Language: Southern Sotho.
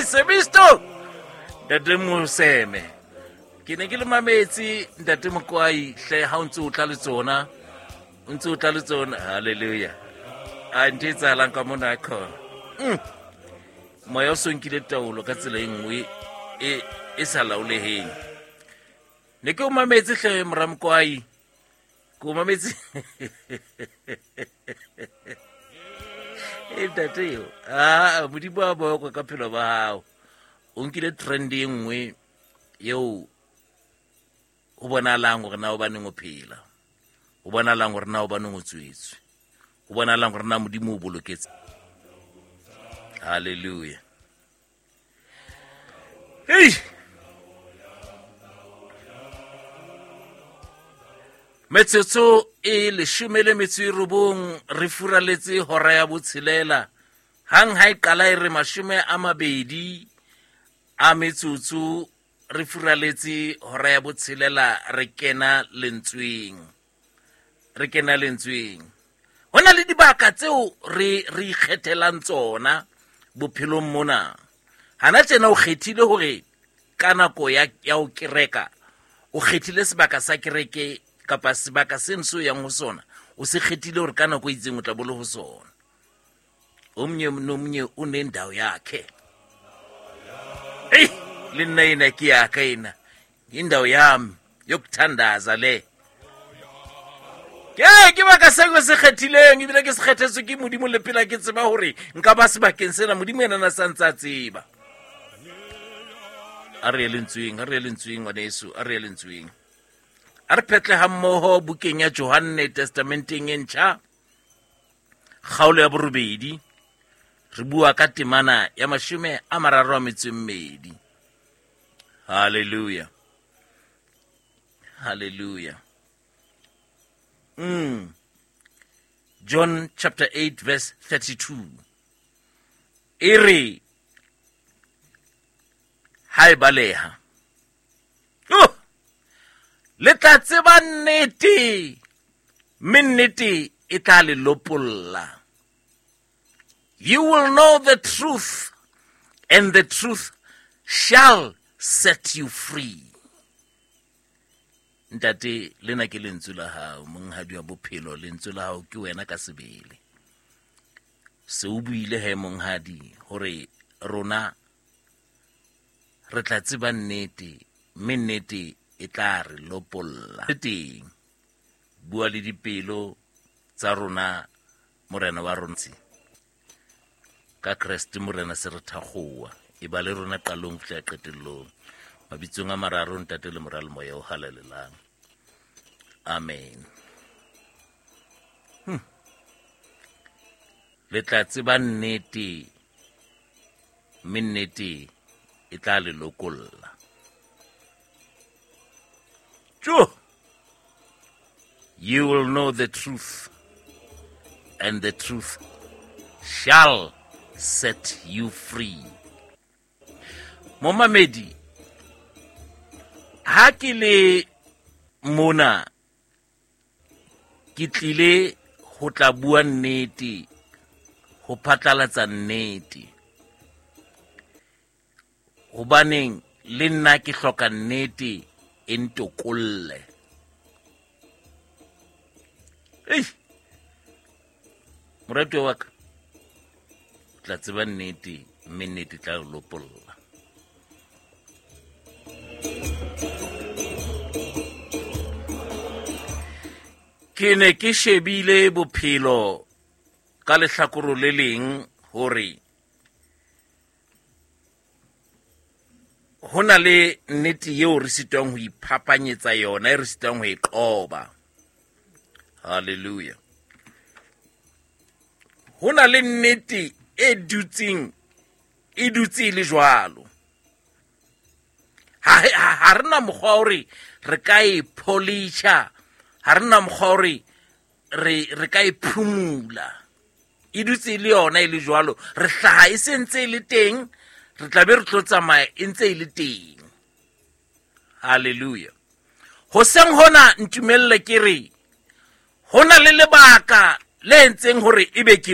Semisto Ntate Moseme ke ne ke le mametse Ntate Mokwai hle ha o ntse o tla le tsona o ntse o tla le tsona halleluja a ntho e tsahalang ka mona khona. Moya o so nkile taolo ka tsela e nngwe e sa laoleheng. Ne ke o mametse hle mora Mokwai ke o mametse e ntate eo aa modimo a bokwe ka phelo ba gago o nkile trend e nngwe eo o bonalang gore na o baneng o phela o bonalang gore na o baneng o tswetswe o bonalang gore na modimo o boloketse. Halleluja. Hei, metsotso e 19 re furaletse hora ya botshelela. Hang ha e qala e re 20 a metsotso re furaletse hora ya botshelela, re kena lentsweng, re kena lentsweng. Ho na le dibaka tseo re ikgethelang tsona bophelong mona. Hana tjena o kgethile hore ka nako ya ho kereka, o kgethile sebaka sa kereke kapa sebaka seno seo yang ho sona, o se kgethile hore ka nako e itseng o tla bo le ho sona. Omunye nomunye unendawo yakhe. Eyi, le nna ena ke ya ka ena, indawo yami yokuthandaza le. Ke baka seo ke se kgethileng, ebile ke se kgethetswe ke Modimo le pela ke tseba hore nka ba sebakeng sena, Modimo yena na sa ntse a tseba. A re ye lentsweng, a re ye lentsweng ngwaneso, a re ye lentsweng. A re phetle ha mmoho bukeng ya Johanne Testamenteng e ntjha, kgaolo ya borobedi, re bua ka temana ya 32. Hallelujah. Hallelujah. John chapter 8 verse 32. E re ha e baleha. Oh! Le tla tseba nnete, mme nnete e tla le lopolla. You will know the truth, and the truth shall set you free. Ntate, lena ke lentswe la hao, monghadi wa bophelo, lentswe la hao ke wena ka sebele. Se o buile he monghadi hore rona re tla tseba nnete, mme nnete e tla re lopolla. Teng, bua le dipelo tsa rona, Morena wa rona. Ka Kreste Morena se re thakgowa, e ba le rona qalong ho fihla qetellong. Mabitsong a mararo, Ntate le Mora le Moya o Halalelang. Amen. Le tla tseba nnete, mme nnete e tla le lokolla. Tjo! You will know the truth, and the truth shall set you free. Momamedi, ha ke le mona, ke tlile ho tla bua nnete, ho phatlalatsa nnete. Hobaneng le nna ke hloka nnete e ntokolle. Ei, moratuwa wa ka, o tla tseba nnete, mme nnete e tla o lopolla. Ke ne ke shebile bophelo ka lehlakoro le leng hore ho na le nnete eo re sitwang ho iphapanyetsa yona, e re sitwang ho e qoba. Hallelujah. Ho na le nnete e dutseng, e dutse e le jwalo. Ha re na mokgwa hore re ka e polisha, ha re na mokgwa hore re ka e phumula. E dutse e le yona e le jwalo. Re hlaha e se ntse e le teng, re tla be re tlo tsamaya e ntse e le teng. Hallelujah. Hoseng hona ntumelle ke re, ho na le lebaka le entseng hore ebe ke